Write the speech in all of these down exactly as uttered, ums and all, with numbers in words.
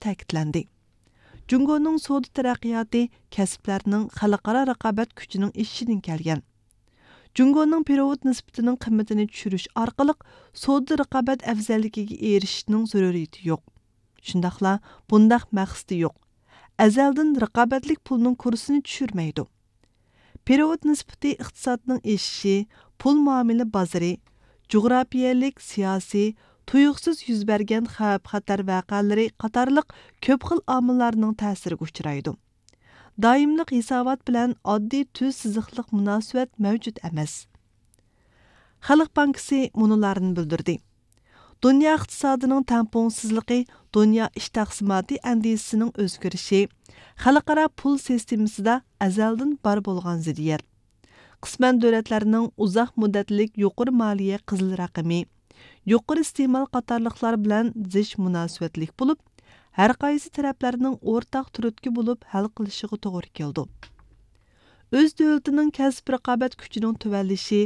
تەكىتلەندى. جۇڭگونىڭ سودا تەرەققىياتى كەسىپلەرنىڭ خەلقئارا رىقابەت كۈچىنىڭ ئېشىشىدىن كەلگەن. جۇڭگونىڭ پېرېۋوت نىسبىتىنىڭ قىممىتىنى چۈشۈرۈش ئارقىلىق سودا رىقابەت ئەۋزەللىكىگە ئېرىشىشنىڭ زۆرۈرىيىتى يوق. شۇنداقلا بۇنداق مەقسىتى يوق. ئەزەلدىن رىقابەتلىك پۇلنىڭ كۇرسىنى چۈشۈرمەيدۇ. پېرېۋوت نىسبىتى ئىقتىسادنىڭ ئېشىشى، پۇل مۇئامىلە بازىرى، جۇغراپىيەلىك، سىياسىي، تۇيۇقسىز يۈز بەرگەن خەۋپ-خەتەر ۋەقەلىرى قاتارلىق كۆپ خىل ئامىللارنىڭ تەسىرىگە ئۇچرايدۇ. دائىملىق ھېسابات بىلەن ئاددىي تۈز سىزىقلىق مۇناسىۋەت مەۋجۇت ئەمەس. خەلق بانكىسى مۇنۇلارنى بىلدۈردى: دۇنيا ئىقتىسادىنىڭ تەڭپۇڭسىزلىقى دۇنيا ئىش تەقسىماتى ئەندىزىسىنىڭ ئۆزگىرىشى، خەلقئارا پۇل سىستېمىسىدا ئەزەلدىن بار بولغان زىددىيەت، قىسمەن دۆلەتلەرنىڭ ئۇزاق مۇددەتلىك يۇقىرى مالىيە قىزىل رەقىمى، يۇقىرى ئىستېمال قاتارلىقلار بىلەن زىچ مۇناسىۋەتلىك بولۇپ، ھەرقايسى تەرەپلەرنىڭ ئورتاق تۈرتكە بولۇپ ھەل قىلىشىغا توغرا كېلىدۇ. ئۆز دۆلىتىنىڭ كەسىپ رىقابەت كۈچىنىڭ تۆۋەنلىشى،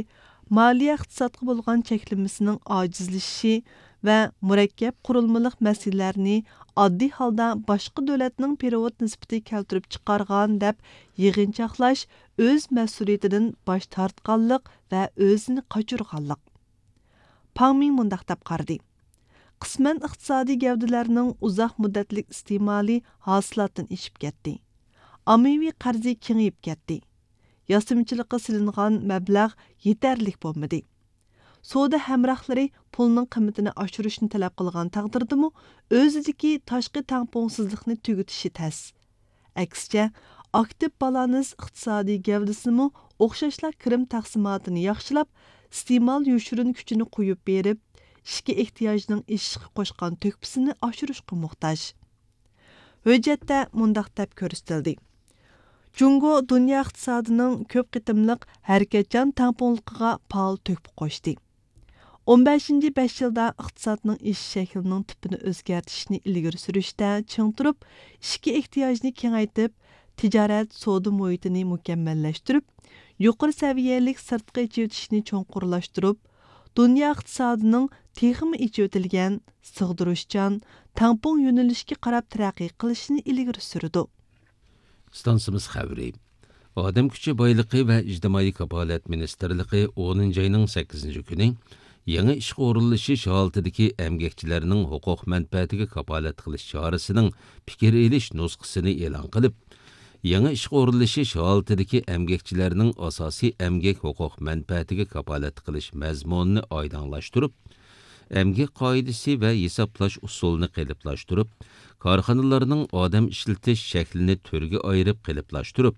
مالىيە ئىقتىسادقا بولغان چەكلىمىسىنىڭ ئاجىزلىشىشى ۋە مۇرەككەپ قۇرۇلمىلىق مەسىلىلەرنى ئاددىي ھالدا باشقا دۆلەتنىڭ پېرېۋوت نىسبىتى كەلتۈرۈپ چىقارغان دەپ يىغىنچاقلاش ئۆز مەسئۇلىيىتىدىن باش تارتقانلىق ۋە ئۆزىنى قاچۇرغانلىق. پاڭ مىڭ مۇنداق دەپ قارىدى: قىسمەن ئىقتىسادىي گەۋدىلەرنىڭ ئۇزاق مۇددەتلىك ئىستېمالى ھاسىلاتتىن ئېشىپ كەتتى. ئاممىۋى قەرزى كېڭىيىپ كەتتى. ياسىمىچىلىققا سېلىنغان مەبلەغ يېتەرلىك بولمىدى. سودا ھەمراھلىرى پۇلنىڭ قىممىتىنى ئاشۇرۇشنى تەلەپ قىلغان تەقدىردىمۇ، ئۆزىدىكى تاشقى تەڭپۇڭسىزلىقنى تۈگىتىشى تەس. ئەكسىچە، ئاكتىپ بالانس ئىقتىسادىي گەۋدىسىمۇ ئوخشاشلا كىرىم تەقسىماتىنى ياخشىلاپ، ئىستېمال يوشۇرۇن كۈچىنى قويۇپ بېرىپ، ئىچكى ئېھتىياجنىڭ ئېشىشقا قوشقان تۆھپىسىنى ئاشۇرۇشقا موھتاج. ھۆججەتتە مۇنداق دەپ كۆرسىتىلدى: جۇڭگو دۇنيا ئىقتىسادىنىڭ كۆپ قېتىملىق ھەرىكەتچان تەڭپۇڭلۇقىغا پائال تۆھپە قوشتى. ئون بەشىنچى بەش يىلدا ئىقتىسادنىڭ ئېشىش شەكلىنىڭ تىپىنى ئۆزگەرتىشنى ئىلگىرى سۈرۈشتە چىڭ تۇرۇپ، ئىچكى ئېھتىياجنى كېڭەيتىپ، تىجارەت، سودا مۇھىتىنى مۇكەممەللەشتۈرۈپ، يۇقىرى سەۋىيەلىك سىرتقى ئېچىۋېتىشنى چوڭقۇرلاشتۇرۇپ، دۇنيا ئىقتىسادىنىڭ تېخىمۇ ئېچىۋېتىلگەن، سىغدۇرۇشچان، تەڭپۇڭ يۆنىلىشكە قاراپ تەرەققىي قىلىشىنى ئىلگىرى سۈرىدۇ. ئىستانسىمىز خەۋىرى. ئادەم كۈچى بايلىقى ۋە ئىجتىمائىي كاپالەت مىنىستىرلىقى ئونىنچى ئاينىڭ سەككىزىنچى كۈنى يېڭى ئىشقا ئورۇنلىشىش ھالىتىدىكى ئەمگەكچىلەرنىڭ ھوقۇق مەنپەئەتىگە كاپالەت قىلىش چارىسىنىڭ پىكىر ئېلىش نۇسخىسىنى ئېلان قىلىپ، يېڭى ئىشقا ئورۇنلىشىش ھالىتىدىكى ئەمگەكچىلەرنىڭ ئاساسىي ئەمگەك ھوقۇق مەنپەئەتىگە كاپالەت قىلىش مەزمۇنىنى ئايدىڭلاشتۇرۇپ، ئەمگەك قائىدىسى ۋە ھېسابلاش ئۇسۇلىنى قېلىپلاشتۇرۇپ، كارخانىلارنىڭ ئادەم ئىشلىتىش شەكلىنى تۈرگە ئايرىپ قېلىپلاشتۇرۇپ،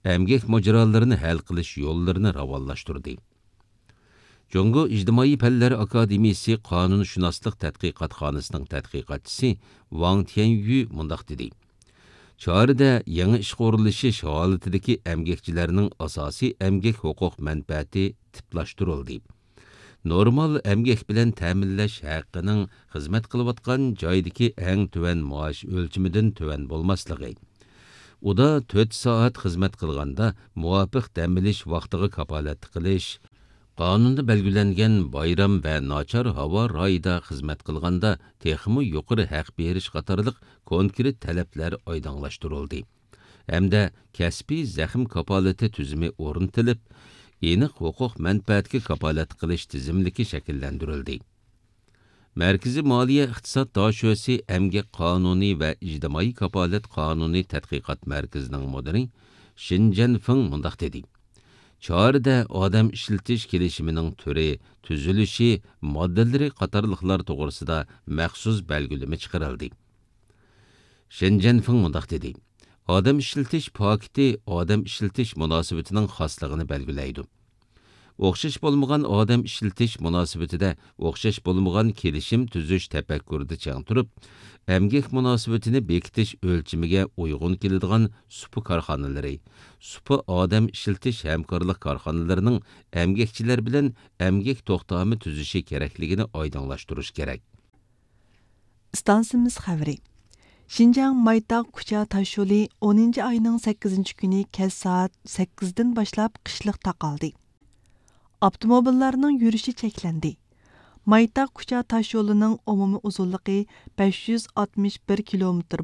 ئەمگەك ماجىرالىرىنى ھەل قىلىش يوللىرىنى راۋانلاشتۇردى. جۇڭگو ئىجتىمائىي پەنلەر ئاكادېمىيىسى قانۇنشۇناسلىق تەتقىقاتخانىسىنىڭ تەتقىقاتچىسى ۋاڭ تيەنيۈ مۇنداق دېدى: چارىدە يېڭى ئىشقا ئورۇنلىشىش ھالىتىدىكى ئەمگەكچىلەرنىڭ ئاساسىي ئەمگەك ھوقۇق مەنپەئەتى تىپلاشتۇرۇلدى. نورمال ئەمگەك بىلەن تەمىنلەش ھەققىنىڭ خىزمەت قىلىۋاتقان جايدىكى ئەڭ تۆۋەن مائاش ئۆلچىمىدىن تۆۋەن بولماسلىقى، ئۇدا تۆت سائەت خىزمەت قىلغاندا مۇۋاپىق دەم ئېلىش ۋاقتىغا كاپالەتلىك قىلىش، قانۇندا بەلگىلەنگەن بايرام ۋە ناچار ھاۋا رايىدا خىزمەت قىلغاندا تېخىمۇ يۇقىرى ھەق بېرىش قاتارلىق كونكرېت تەلەپلەر ئايدىڭلاشتۇرۇلدى ھەمدە كەسپىي زەخىم كاپالىتى تۈزۈمى ئورنىتىلىپ، ئېنىق ھوقۇق مەنپەئەتكە كاپالەتلىك قىلىش تىزىملىكى شەكىللەندۈرۈلدى. مەركىزىي مالىيە ئىقتىساد داشۆسى ئەمگەك قانۇنى ۋە ئىجتىمائىي كاپالەت قانۇنى تەتقىقات مەركىزىنىڭ مۇدىرى شىن جەنفېڭ مۇنداق دېدى: چارىدە ئادەم ئىشلىتىش كېلىشىمىنىڭ تۈرى، تۈزۈلۈشى، ماددىلىرى قاتارلىقلار توغرىسىدا مەخسۇس بەلگىلىمە چىقىرىلدى. شېن جەنفېڭ مۇنداق دېدى: ئادەم ئىشلىتىش پاكىتى ئادەم ئىشلىتىش مۇناسىۋىتىنىڭ خاسلىقىنى بەلگىلەيدۇ. ئوخشاش بولمىغان ئادەم ئىشلىتىش مۇناسىۋىتىدە ئوخشاش بولمىغان كېلىشىم تۈزۈش تەپەككۇرىدا چىڭ تۇرۇپ، ئەمگەك مۇناسىۋىتىنى بېكىتىش ئۆلچىمىگە ئۇيغۇن كېلىدىغان سۇپا كارخانىلىرى، سۇپا ئادەم ئىشلىتىش ھەمكارلىق كارخانىلىرىنىڭ ئەمگەكچىلەر بىلەن ئەمگەك توختامى تۈزۈشى كېرەكلىكىنى ئايدىڭلاشتۇرۇش كېرەك. ئىستانسىمىز خەۋىرى. شىنجاڭ مايتاغ كۇچا تاشيولى ئونىنچى ئاينىڭ سەككىزىنچى كۈنى كەچ سائەت سەككىزدىن باشلاپ قىشلىق تاقالدى. ئاپتوموبىللارنىڭ يۈرۈشى چەكلەندى. مايتاغ كۇچا تاشيولىنىڭ ئومۇمىي ئۇزۇنلۇقى بەش يۈز ئاتمىش بىر كىلومېتىر